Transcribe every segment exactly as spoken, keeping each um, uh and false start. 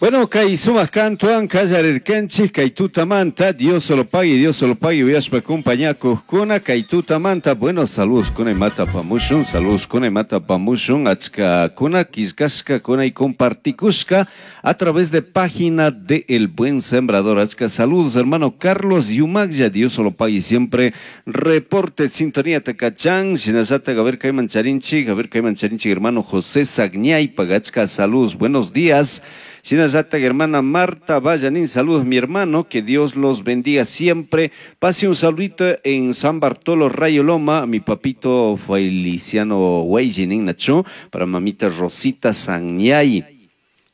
Bueno, kay sumaq kantuwan qallarirkanchik kay tutamanta, Dios solo pague, Dios solo pague, uyashpa compañakuqkuna kay tutamanta, bueno, saludos kuna imata apamushun, saludos kuna imata apamushun, achkakuna killkashkakuna y compartikushka a través de página de El Buen Sembrador. Achka saludos, hermano Carlos Yumagya, Dios solo pague siempre, reporte sintonía takachan, shinallata a ver kayman charinchik, a ver kayman charinchik, hermano José Sagñay, achka saludos, buenos días. Shinallata hermana Marta Vallanín, saludos mi hermano, que Dios los bendiga siempre. Pase un saludito en San Bartolo Rayo Loma, mi papito Feliciano Weijinin Nacho, para mamita Rosita Sañay.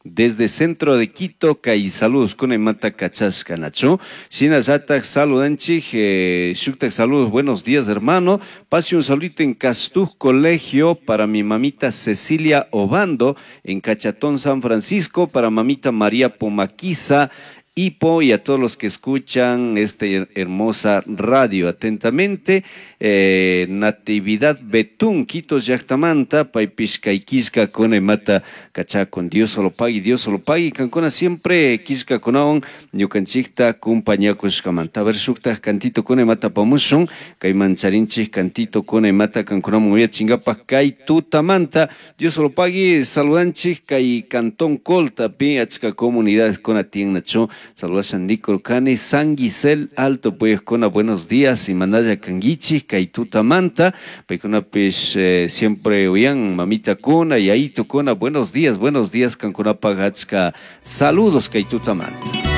Desde centro de Quito, kay saludos con mata kachashka nacho. Shinallata saludanchik, eh, shuktak saludos, buenos días hermano. Pase un saludito en Castuj Colegio para mi mamita Cecilia Obando, en Cachatón, San Francisco, para mamita María Pomaquiza, Ipo y a todos los que escuchan esta hermosa radio atentamente. Eh, Natividad Betún, Quito llaktamanta, paypish kay killka kuna imata kachakun. Dios solo pague, Dios solo pague. Kankuna siempre killkakunawan ñukanchikta kumpañakushkamanta. A ver, shuktaj cantito kuna imata apamushun, kayman charinchik cantito kuna imata kankunaman uyachinkapak kay tutamanta. Dios solo pague, saludanchik kay Cantón Colta, pi achka comunidades kuna tiyan nachu. Saludasan Nico Kani, San Gisel Alto, pues con buenos días y manaya kanguichi, kay tutamanta, paykunapish eh, siempre uyan mamita kuna y ahí kuna, buenos días, buenos días, kankunapaj achka, saludos kay tutamanta.